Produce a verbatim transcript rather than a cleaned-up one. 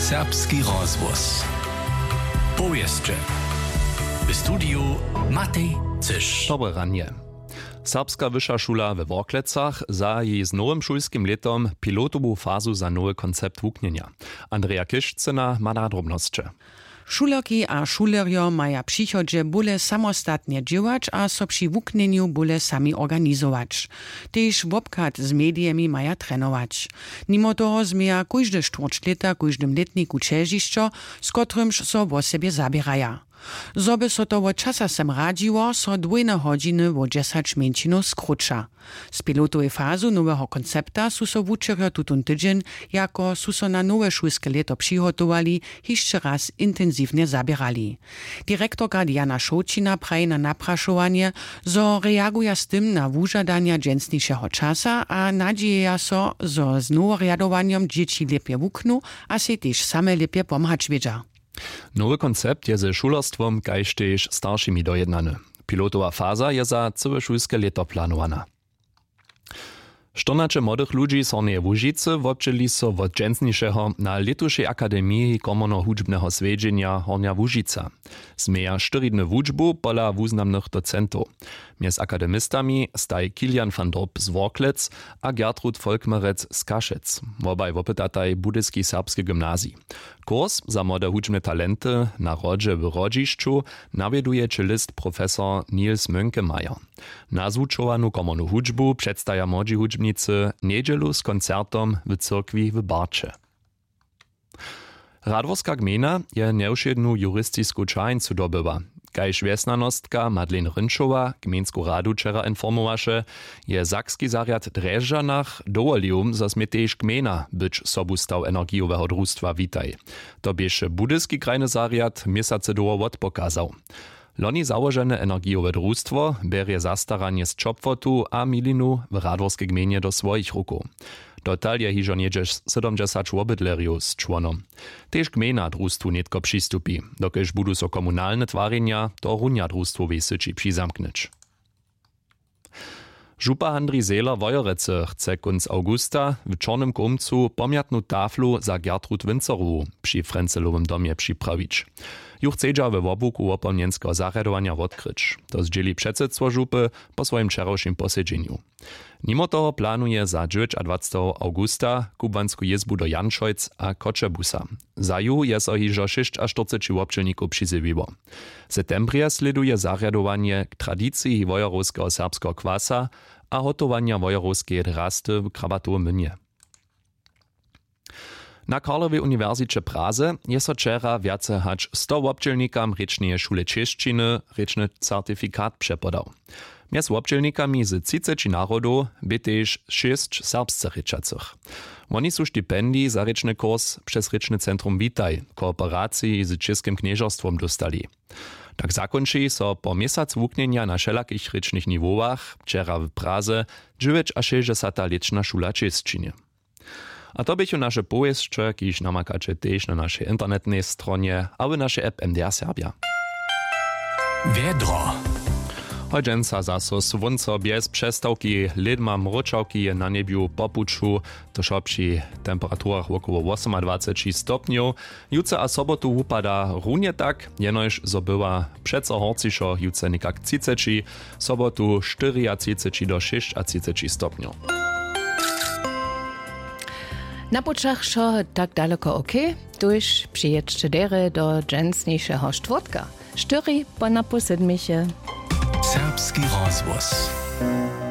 Serbski rozhłos. Powěsće. W studiju Matej Cyš. Dobre ranje. Serbska wyša šula we Worklecach zahaji z nowym šulskim lětom pilotowu fazu za nowy koncept wuknjenja. Andreja Kišcyna ma na drobnosće. Šulerki a šulerjo maja w přichodźe bóle samostatnje dźěłać a so při wuknjenju bóle sami organizować. Tež wobchad z medijemi maja trenować. Nimo toho změja kóžde štwórć lěta w kóždym lětniku ćežišćo, z kotrymž so wosebje zaběraja. Zo by so to wot časa sem radźiło, so dwójne hodźiny wo dźesać mjeńšinow skróća. Z pilotowej fazu noweho koncepta su so wučerjo tutón tydźeń, jako su so na nowe šulske lěto přihotowali, hišće raz intensiwnje zaběrali. Direktorka Diana Šołćina praji na naprašowanje, zo reaguja z tym na wužadanja dźensnišeho časa a nadźijeja so, zo z noworjadowanjom dźěći lěpje wuknu a sej tež same lěpje pomhać wědźa. Nowy koncept je ze šulerstwom kaž tež staršimi dojednany. Pilotowa faza je za cyłe šulske lěto planowana. Štyrnaće młodych ludźi z Hornjeje Łužicy wobdźěli so wot dźensnišeho na lětušej akademiji komornohudźbneho swjedźenja Hornja Łužica. Změja štyri dny wučbu pola wuznamnych docentow. Mjez akademistami staj Kilian van Dorp z Worklec a Gertrud Volkmerec z Kašec. Wobaj wopytataj Budyski serbski gymnazij. Kurs za młode hudźbne talenty na Hrodźe w Hrodźišću nawjeduje čelist profesor Niels Mönkemeyer. Nazwučowanu komornu hudźbu předstaja młodźi hudźbnicy njedźelu z koncertom w cyrkwi w Barće. Radworska gmejna je njewšědnu juristisku čaheńcu dobyła. Kaž wjesnjanostka Madeleine Rynčowa gmejnsku radu wčera informowaše, je sakski zarjad w Drježdźanach dowolił, zo smě tež gmejna być sobustaw energijoweho drustwa Witaj. To běše budyski krajny zarjad měsacy dołho wotpokazał. Loni załožene energijowe drustwo bjerje zastaranje z ćopłotu a milinu w Radworskej gmejnje do swojich rukow. Dotal je hižo něhdźe sydomdźesać wobydlerjow z čłonom. Tež gmejna drustwu nětko přistupi, dokelž budu so komunalne twarjenja tohorunja drustwowej syći přizamknyć. Župa Handrij Zehler Wojerecy chce kónc awgusta w Čornym Kołmcu pomjatnu taflu za Gertrud Wincerowu při Frencelowym domje připrawić. Ju chcedźa we wobłuku wopomnjenskeho zarjadowanja wotkryć. To zdźěli předsydstwo župy po swojim wčerawšim posedźenju. Nimo toho planuje za dźewjećadwaceteho awgusta kubłansku jězbu do Janšojc a Choćebuza. Za ju je so hižo šěsćaštyrceći wobdźělnikow přizjewiło. W septembrje slěduje zarjadowanje k tradiciji wojerowskeho serbskeho kwasa a hotowanja wojerowskeje drasty w Krabatowym młynje. Na Karlowej uniwersiće w Praze je so wčera wjace hač sto wobdźělnikam rěčneje šule čěšćiny rěčny certifikat přepodał. Mjez wobdźělnikami z třiceći narodow bě tež šěsć serbsce rěčacych. Woni su stipendij za rěčny kurs přez rěčny centrum Witaj w kooperaciji z Českym knježerstwom dóstali. Tak zakónči so po měsac wuknjenja na wšelakich rěčnych niwowach wčera w Praze dźewjećašěsćdźesata lěćna šula čěšćiny. A to běchu naše powěsće, kiž namakaće tež na našej internetnej stronje a w našej app M D R Serbja. Wjedro. Hodźenca zaso słónco bjez přestawki, lědma mróčawki je na njebju po puću, to wšo při temperaturach wokoło wosomadwaceći stopnjow. Jutře a sobotu wupada runje tak, jenož zo bywa přeco horcišo, jutře někak třiceći, sobotu štyriatřiceći do šěsćatřiceći stopnjow. Na pućach wšo tak daleko ok, tuž přijědźće derje do dźensnišeho štwórtka, štyri po napoł sydmiche. Serbski rozhłos.